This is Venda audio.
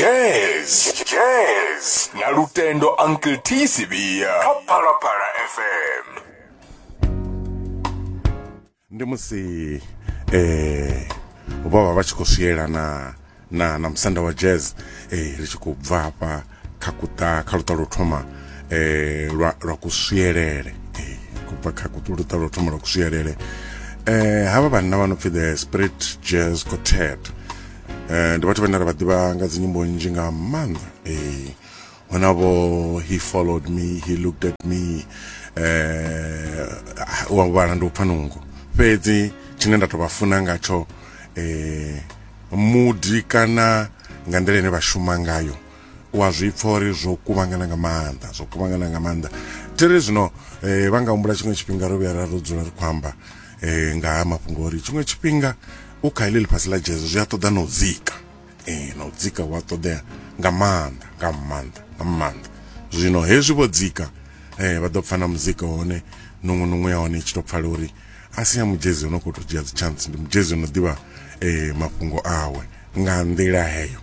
Jazz, jazz na Lutendo Uncle T Sivia kha Phalaphala FM. Ndi musi eh vho vha vha tshi khou swiela na na na musanda wa jazz eh ri tshi khou bva hafha kha kuṱa kha luṱa lwo thoma eh lwa lwa kuswielele eh kubva kha luṱa lwo thoma lwa kuswielele eh havha vhanna vha no pfi the Spirit Jazz Quartet. Ndi vhathu vhane ra vha ḓivha nga dzinyimbo nnzhi nga maanḓa. Huna vho He Followed Me, He Looked At Me, wa vhala ndi u pfa nungo. Fhedzi tshine nda to vha funa ngatsho mudi kana nga nḓila ine vha shuma ngayo, wa zwi pfa uri zwo kuvhangana nga maanḓa, zwo kuvhangana nga maanḓa. Thiri zwino vha nga humbula tshiṅwe tshifhinga ro vhuya ra ro dzula ri khou amba nga ha mafhungo uri tshiṅwe tshifhinga u kha heḽi ḽifhasi ḽa jazz zwi a ṱoḓa na u dzika. Na u dzika hu a ṱoḓea nga maanḓa, nga maanḓa, nga maanḓa. Zwino hezwi vho dzika vha ḓo pfa na muzika hone nungu nungu ya hone i tshi to pfala uri a si ya mudzhezi ono khou tou dzhia dzi chance, ndi mudzhezi ono ḓivha mafhungo awe nga nḓila heyo.